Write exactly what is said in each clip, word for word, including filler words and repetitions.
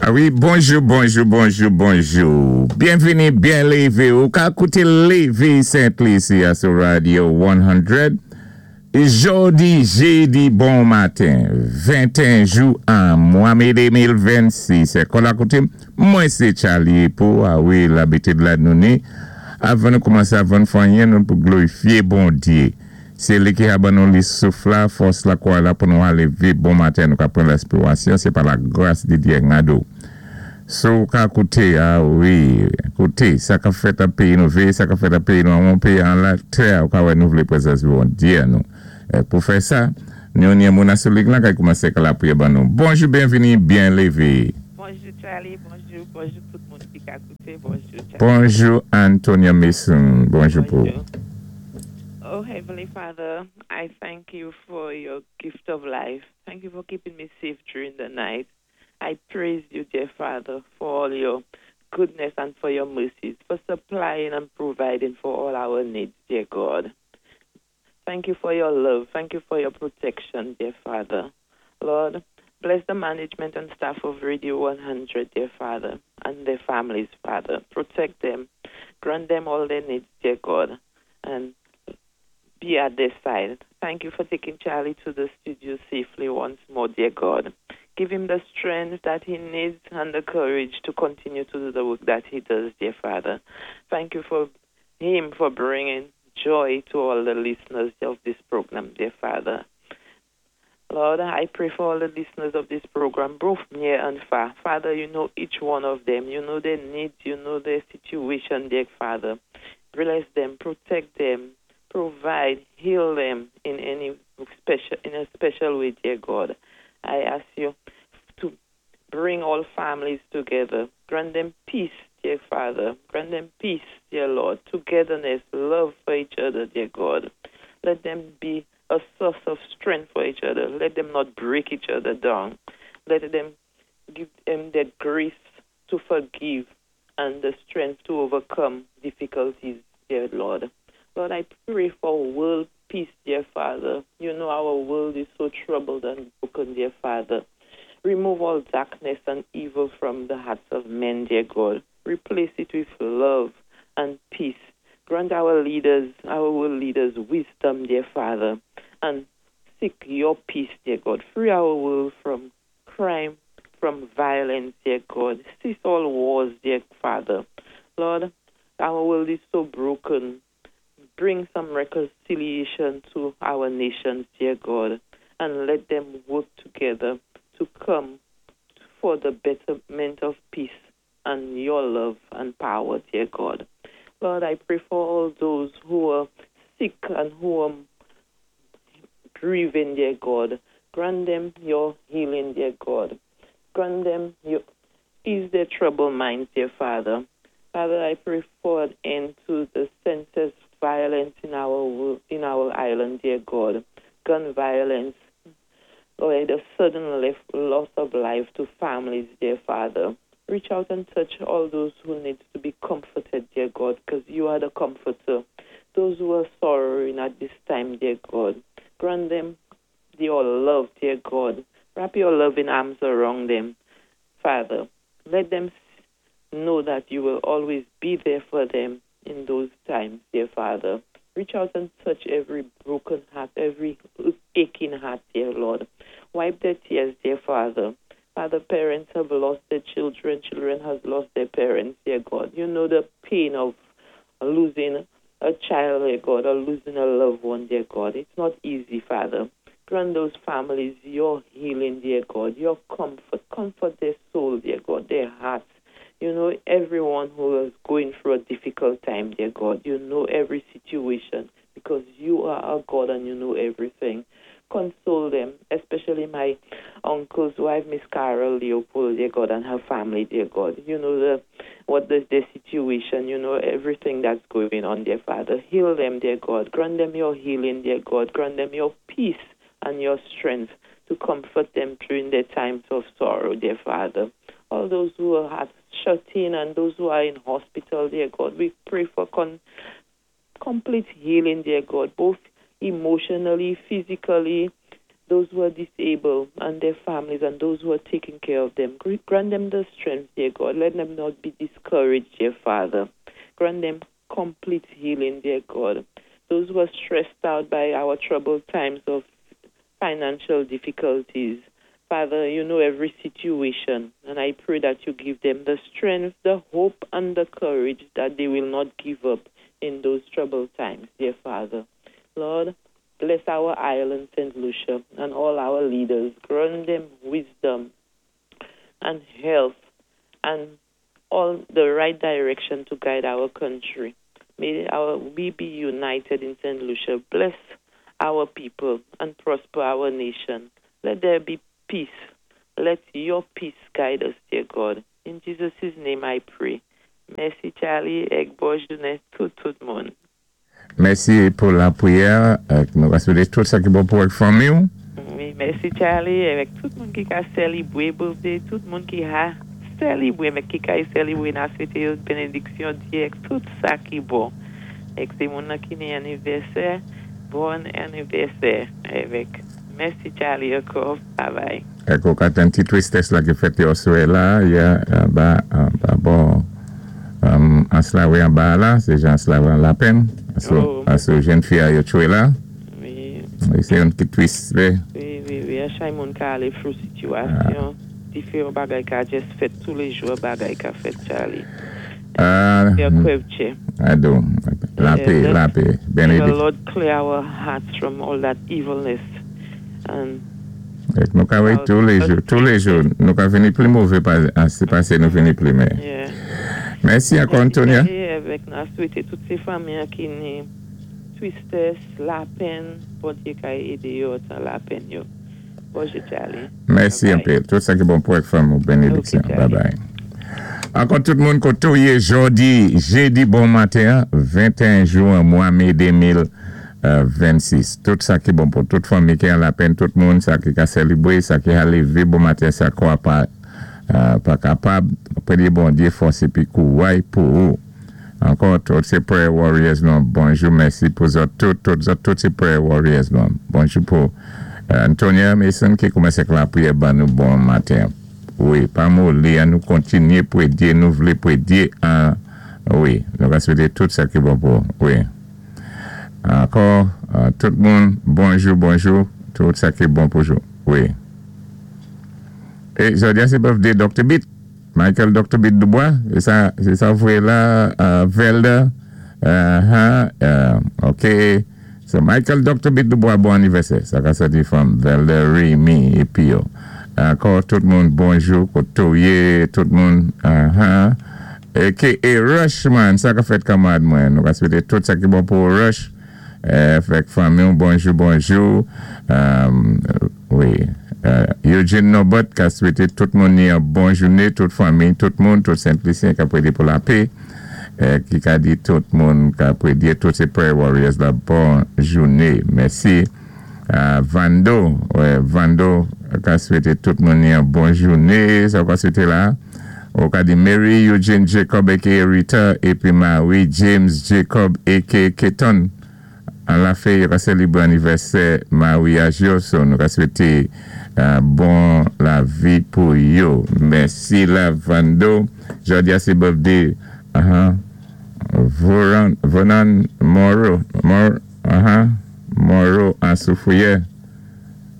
A wi, bonjou, bonjou, bonjou, bonjou. Byenvini, byen lévé. Ou ka kouté Lévi Saint-Lucie sou Radio san. Jòdi, jédi, bon maten, venteyen jou an mwa mé de mil vennsis. Kon la kouté, mwen sé Charlie pou, a wi, labitid la nou ni. Avan nou koumansé, avan nou fè anyen, nou pou glorifié Bondié. Sé li ki a ban nou li souf la, fòs la kwa la pou nou alé lévé bon maten, nou ka pran lespirasyon, sé pa la gras di Dyé gado. So ka kouté, a wi, kouté, sa ka fèt an péyi nou vé, sa ka fèt an péyi nou, an péyi an la tè, ou ka wè nou vlé prézans Bondié nou. Pou fè sa, nou ni moun asou lig lan kay koumansé ka la priye ban nou. Bonjou, byenvini, byen lévé. Bonjou Charlie, bonjou, bonjou tout moun ki ka kouté, bonjou Charlie. Bonjou Antonia Mason, bonjou pou. Oh Heavenly Father, I thank you for your gift of life. Thank you for keeping me safe during the night. I praise you, dear Father, for all your goodness and for your mercies, for supplying and providing for all our needs, dear God. Thank you for your love. Thank you for your protection, dear Father. Lord, bless the management and staff of Radio one hundred, dear Father, and their families, Father. Protect them. Grant them all their needs, dear God, and be at their side. Thank you for taking Charlie to the studio safely once more, dear God. Give him the strength that he needs and the courage to continue to do the work that he does, dear Father. Thank you for him for bringing joy to all the listeners of this program, dear Father. Lord, I pray for all the listeners of this program, both near and far. Father, you know each one of them. You know their needs. You know their situation, dear Father. Bless them, protect them, provide, heal them in any special in a special way, dear God. I ask you to bring all families together. Grant them peace, dear Father. Grant them peace, dear Lord. Togetherness, love for each other, dear God. Let them be a source of strength for each other. Let them not break each other down. Let them give them the grace to forgive and the strength to overcome difficulties, dear Lord. Lord, I pray for world peace, dear Father. You know our world is so troubled and broken, dear Father. Remove all darkness and evil from the hearts of men, dear God. Replace it with love and peace. Grant our leaders, our world leaders, wisdom, dear Father, and seek your peace, dear God. Free our world from crime, from violence, dear God. Cease all wars, dear Father. Lord, our world is so broken. Bring some reconciliation to our nations, dear God, and let them work together to come for the betterment of peace and your love and power, dear God. Lord, I pray for all those who are sick and who are grieving, dear God. Grant them your healing, dear God. Grant them your ease their troubled minds, dear Father. Father, I pray for an end to the senseless violence in our in our island, dear God. Gun violence, Lord, the sudden loss of life to families, dear Father. Reach out and touch all those who need to be comforted, dear God, because you are the comforter. Those who are sorrowing at this time, dear God, grant them your love, dear God. Wrap your loving arms around them, Father. Let them know that you will always be there for them in those times, dear Father. Reach out and touch every broken heart, every aching heart, dear Lord. Wipe their tears, dear Father. Father, parents have lost their children, children have lost their parents, dear God. You know the pain of losing a child, dear God, or losing a loved one, dear God. It's not easy, Father. Grant those families your healing, dear God, your comfort. Comfort their soul, dear God, their hearts. You know everyone who is going through a difficult time, dear God. You know every situation because you are our God and you know everything. Console them, especially my uncle's wife, Miss Carol Leopold, dear God, and her family, dear God. You know the what the, the situation, you know everything that's going on, dear Father. Heal them, dear God. Grant them your healing, dear God. Grant them your peace and your strength to comfort them during their times of sorrow, dear Father. All those who are shut in and those who are in hospital, dear God, we pray for con- complete healing, dear God, both emotionally, physically, those who are Those who are disabled and their families and those who are taking care of them. Grant them the strength, dear God. Let them not be discouraged, dear Father. Grant them complete healing, dear God. Those who are stressed out by our troubled times of financial difficulties, Father, you know every situation, and I pray that you give them the strength, the hope, and the courage that they will not give up in those troubled times, dear Father. Lord, bless our island, Saint Lucia, and all our leaders. Grant them wisdom and health and all the right direction to guide our country. May our, we be united in Saint Lucia. Bless our people and prosper our nation. Let there be peace. Let your peace guide us, dear God. In Jesus' name I pray. Mèsi, Charlie, èk bon jounen tout, tout moun. Mèsi pou lapriyè. Nou va swété tout sa ki bon pou èk fanmi. Wi, mèsi, Charlie, avèk tout moun ki ka sélébwé birthday, tout moun ki ka sélébwé, mé ki ka sélébwé, n-ap swété yo bénédiksyon Diyé èk tout sa ki bon. Èk sé moun ki ni anivèsè, bon anivèsè avèk. Mèsi, Charlie, ankò. Bye bye. Èk ou ka yon ti tristès la ki fèt aswè la, ya ba ba bon um, Anse-la-Raye anba la, sé jan Anse-la-Raye an lapenn. Oh. Aso jenn fi a yo tchwé la. Wi. Sé yon ki tris, wi. Wi, wi, wi. A chak moun ka alé through sitiyasyon, diferan bagay ka jis fèt toulé jou, bagay ka fèt, Charlie. Ah, Kè kwèvtchè. Ado, lapè, Yeah, lapè. May the Bénédiksyon. Lord clear our hearts from all that evilness. And Èk nou ka wè toulé jou, toulé jou, nou ka vini pli mové pasé nou vini pli meyè. yeah. Mèsi ankò, Antonia. É avèk n-ap swété tout sé fanmi ki ni tristès, lapenn, Bondyé ka édé yo tan lapenn yo. Bonjou, Charlie. Mèsi Bye yon bye. peu. Tout sa ki bon pou èk fanmi, bénédiksyon. Ok, Charlie. Bye bye. Ankò tout moun koté ou yé jòdi, jédi bon maten, venteyen jen, mwa mé de mil vennsis. Tout sa ki bon pou tout fanmi ki an lapenn, tout moun, sa ki ka sélébwé, sa ki ka lévé bon maten, sa kwa pa, euh, pa kapab, préyé Bondyé fòs épi kouway pou ou. Ankò, tout sé prayer warriors nou, bonjou, mèsi pou zòt, tout, tout, zòt, tout sé prayer warriors nou. Bonjou pou euh, Antonia Mason ki koumansé lapriyè ban nou bon maten. Wi, pa moli, an nou kontinyé prédé, nou vlé prédé, an, wi, nou va swété tout sa ki bon pou, wi. Ankò, euh, tout moun, bonjou, bonjou, tout sa ki bon pou jou, wi. É jòdi a sé birthday Doctor Beat, Michael Doctor Beat Dubois, sé sa, sé sa vwé la, euh, Velda, uh-huh, euh, ok. So Michael Doctor Beat Dubois, bon anivèsè. Sa ka sòti from Velda, Rémi é pi yo. Ankò tout moun, bonjou, koté ou yé, tout moun, uh-huh. A K A Rushman, sa ka fèt kanmarad mwen. Nou ka swété tout sa ki bon pou Rush. Euh, fèk fanmi, bonjou, bonjou. Um, wi. Euh, Eugene Nobot ka swété tout moun ni yon bon jouné, tout fanmi, tout moun, tout Sent-Lisyen ka prédé pou lapè. Euh, ki ka di tout moun ka prédé, tout sé prayer warriors la bon jouné. Mèsi. Euh, Vando, wè, Vando ka swété tout moun ni yon bon jouné, sa ka swété la. Ou ka di Mary Eugene Jacob A K A Rita épi Marie James Jacob A K A Keton. An la fè, yo ka sélébwé anivèsè maryaj yo, so nou ka swété euh, bon lavi pou yo. Mèsi la Vando. Jòdi a sé birthday, uh-huh. Voran, Vonan Moro, Mor, uh-huh. Moro an Soufrière.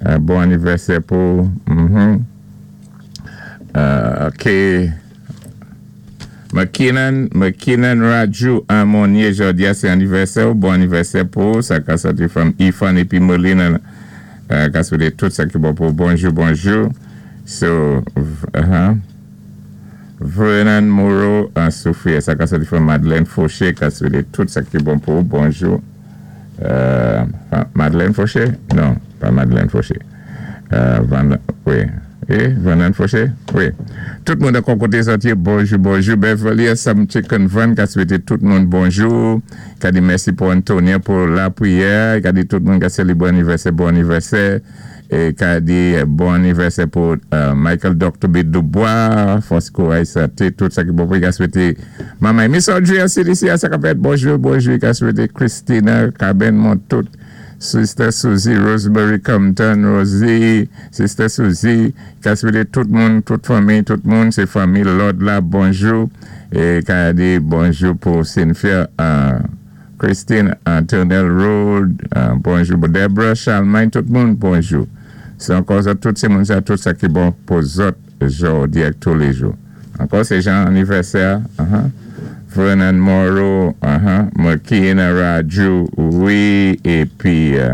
Euh, bon anivèsè pou, mhm. Euh, ok. McKinnon, McKinnon Raju an Monye, jòdi a sé anivèsè ou bon anivèsè pou sa ka sòti from Ifan épi Molina euh, ka swété tout sa ki bon pou bonjou, bonjou. So, uh-huh. Vernon Moreau an Soufrière, sa ka sòti from Madeleine Fauché ka swété tout sa ki bon pou bonjou. Euh, Madeleine Fauché? Non, pa Madeleine Fauché. Euh, Van, wi. Eh, Vernon Fauché? Wi. Tout moun de koté sòti, bonjou, bonjou. Beverly Sam Chicken Van, ka swété tout moun bonjou. Ka di mèsi pou Antonia pou lapriyè. Ka di tout moun ka sélébwé anivèsè, bon anivèsè. É ka di bon anivèsè pou euh, Michael Doctor B. Dubois, Fosco Aïssate, tout sa ki bon pou ka swété Maman Miss Audrey C D C, sa ka fèt, bonjou, bonjou, ka swété Christina, Caben Montout. Sister Susie, Rosemary Compton, Rosie, Sister Susie, ka swété tout moun, tout fanmi, tout moun, sé fanmi Lord la, bonjou. É ka di bonjou pou Cynthia, euh, Christine, uh, Turnell Road, euh, bonjou pou Deborah, Charlemagne, tout moun, bonjou. Sé ankò sa, tout sé moun sa, tout sa ki bon pou zòt jòdi ak touléjou. Ankò sé jan anivèsè, uh-huh. Vernon Morrow, uh-huh. Makina Raju, wi, épi euh,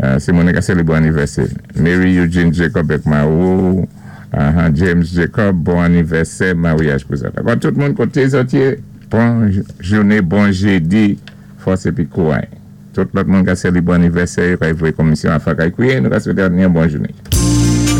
euh, sé moun ka sélébwé anivèsè. Mary Eugene Jacob ak Marou, uh-huh. James Jacob, bon anivèsè, maryaj pou sa. Dakò, tout moun koté zòt yé, bon jouné, bon jédi, fòs épi kouray. Tout lòt moun ka sélébwé anivèsè, ka voyé komisyon a fwa kay kwié, nou ka swété yon bon jouné.